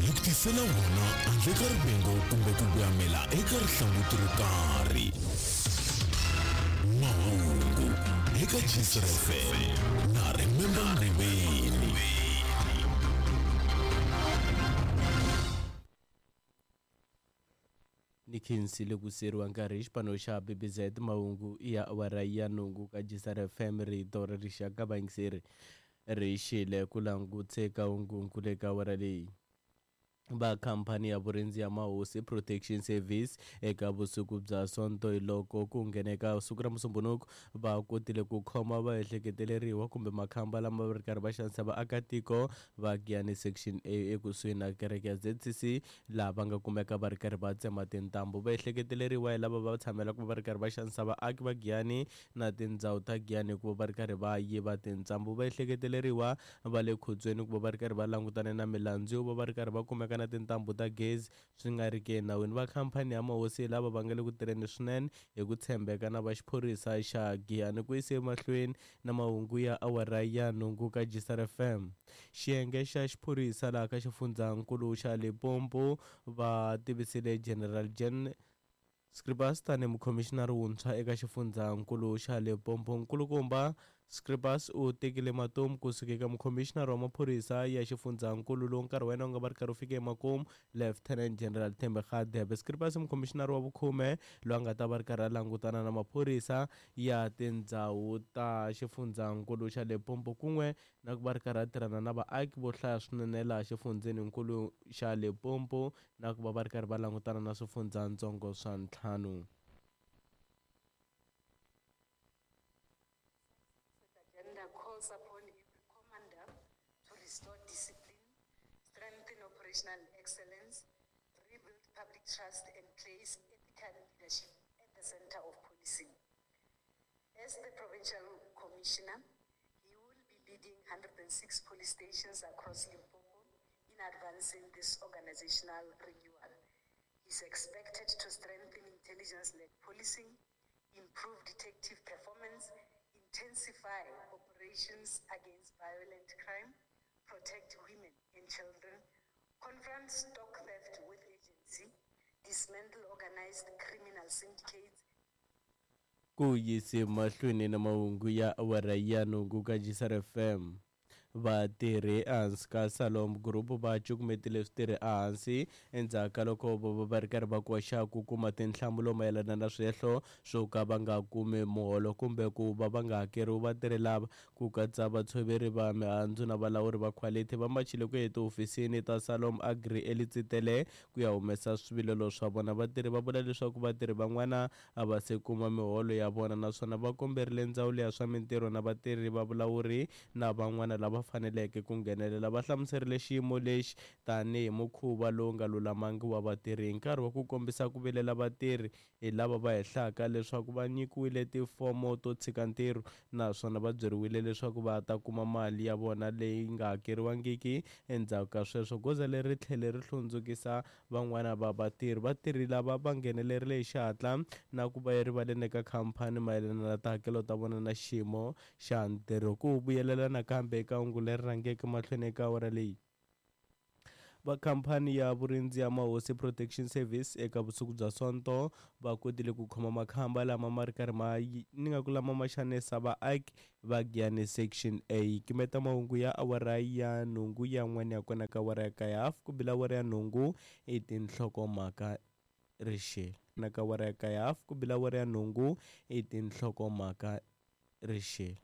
Hi ku tisela wona handle ka rivengo kumbe ku voyamela eka rihlanguti ro karhi. Mahungu eka Jisr FM na Remember Nguveni. Ni khensile ku siyeriwa nkarhi hi xipano xa BBZ mahungu ya awara ya nhungu ka Jisr FM rito ra rixaka vayingiseri ri xile ku langutse ka hungu le ka awara leyi. Va khampani ya vurindzi ya Mahosi Protection Service eka vusiku bya Sonto hi loko ku ngheneka siku ra Musumbhunuku va kotile ku khoma vaehleketeleriwa kumbe makhamba lama va ri karhi va xanisa vaakatiko va Giyani Section A ekusuhi na kereke ya ZCC laha va nga kumeka va ri karhi va tsema tintambu. Vaehleketeleriwa hi lava va tshamela ku va ri karhi va xanisa vaaki va Giyani na tindhawu ta Giyani hikuva va ri karhi va yiva tintsambu. Vaehleketeleriwa va le khotsweni ku va va ri karhi va langutane na milandzu yo va va ri karhi va kumeka na tintambu ta gezi swi nga ri ki enawini. Va khampani ya Mahosi hi lava va nga le ku tirheni swinene hi ku tshembeka na va xiphorisa xa Giyani ku yise emahlweni na mahungu ya awara ya nhungu ka Jisar FM. Xiyenge xa xiphorisa laha ka xifundzankulu xa Limpopo va tivisile General Jan Scribus tanihi mukhomixinari wuntshwa eka xifundzankulu xa Limpopo. Nkulukumba Scribus u tekile matomu kusuka eka mukhomixinari wa maphorisa ya xifundzankulu lowu nkarhi wa yena wu nga va ri karhi wu fike emakumu, Lieutenant General Thembi Radebe. Scribus i mukhomixinari wa vukhume loyi a nga ta va ri karhi a langutana na maphorisa ya tindhawu ta xifundzankulu xa Limpopo kun'we na ku va ri karhi a tirhana na vaaki vo hlaya swinene laha xifundzeninkulu xa Limpopo na ku va va ri karhi va langutana na swifundzatsongo swa ntlhanu. Agenda calls upon every commander to restore discipline, strengthen operational excellence, rebuild public trust, and place ethical leadership at the center of policing. As the provincial commissioner, he will be leading 106 police stations across Limpopo in advancing this organizational renewal. He's expected to strengthen intelligence-led policing, improve detective performance, intensify operations against violent crime, protect women and children, confront stock theft with urgency, dismantle organized criminal syndicates, Ku yise mahlweni na mahungu ya awara ya nhungu ka Jisar FM. Vatirhi ehansi ka Salom Group va cukumetile switirhi ehansi endzhaku ka loko vo va va ri karhi va koxa ku kuma tinhlamulo mayelana na swihehlo swo ka va nga kumi muholo kumbe ku va va nga hakeriwi. Vatirhi lava ku katsa vatshoveri va mihandzu na valawuri va khwalithi va machile ku ya etihofisini ta Salom Agri eLitsitele ku ya humesa swivilelo swa vona. Vatirhi va vula leswaku vatirhi van'wana a va se kuma miholo ya vona naswona va komberile ndzawulo ya swa mintirho na vatirhi va vulawuri na van'wana lava faneleke ku nghenelela. Va hlamuserile xiyimo lexi tanihi mukhuva lowu nga lulamangi wa vatirhi hi nkarhi wa ku kombisa ku vilela vatirhi hi lava va hehlaka leswaku va nyikiwile tifomo to tshika ntirho naswona va byeriwile leswaku va ta kuma mali ya vona leyi nga hakeriwangiki endzhaku ka sweswo. Goza leri ri tlhele ri hlundzukisa van'wana va vatirhi. Vatirhi lava va nghenelerile hi xihatla na ku va erivaleni eka khamphani mayelana na tihakelo ta vona na xiyimo xa ntirho. Ku vuyelela nakambe eka hungu leri rhangeke mahlweni eka awara leyi. Va khamphani ya vurindzi ya Mahosi Protection Service eka vusiku bya Sonto va kotile ku khoma makhamba lama ma ri karhi ma ni nga ku lama ma xanisa vaaki va Giyani Section A. Kimeta mahungu ya awara ya nhungu yan'wana ya kona ka awara ya kaye hafu ku bila awara ya nhungu i tinhlokomhaka rixile. Na ka awara ya kaye hafu ku bila awara ya nhungu i tinhlokomhaka rixile.